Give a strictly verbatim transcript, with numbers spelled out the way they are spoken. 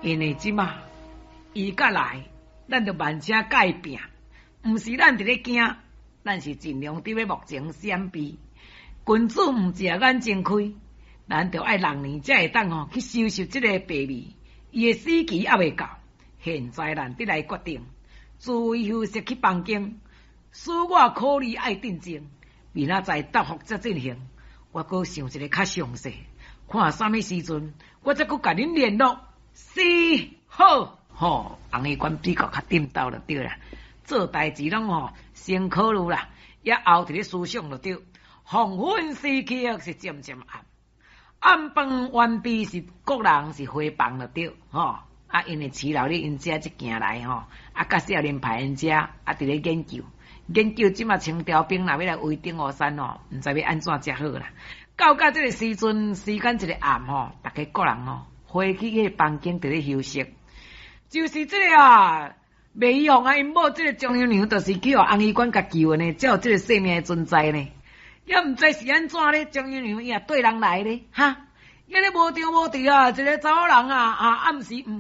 因為這馬伊甲來，咱就慢車共伊拚，毋是咱佇咧驚，咱是盡量佇咧幕前閃避。君子毋食眼前虧，咱著愛六年才會當吼去收拾這个敗味。伊的死期猶未到，現在咱得來決定，自為休息去房間，使我考慮愛鎮靜，明仔載答覆才進行。我閣想一个較詳細，看啥物時陣，我才閣共恁聯絡。是好，吼，洪醫官比較較顛倒就對啦。做代誌攏吼先考慮啦，也後佇咧思想就對。黃昏時刻是漸漸暗，暗飯完畢是各人是回房就對，吼。啊，因為徐老咧𪜶遮這行來吼，啊，佮少年派𪜶遮啊，佇咧研究研究，這馬清朝兵若欲來圍頂烏山吼，毋知欲按怎才好啦。到到這个時陣，時間一个暗吼，逐家各人吼回去彼个房間佇咧休息。就是這个啊，麥玉鳳啊，𪜶某這个張姨娘，就是去予洪醫官共救的呢，才有這个性命的存在呢。也毋知是按怎咧，張姨娘伊也綴人來咧，哈。伊咧無張無佇啊，一个查某人啊，啊暗時毋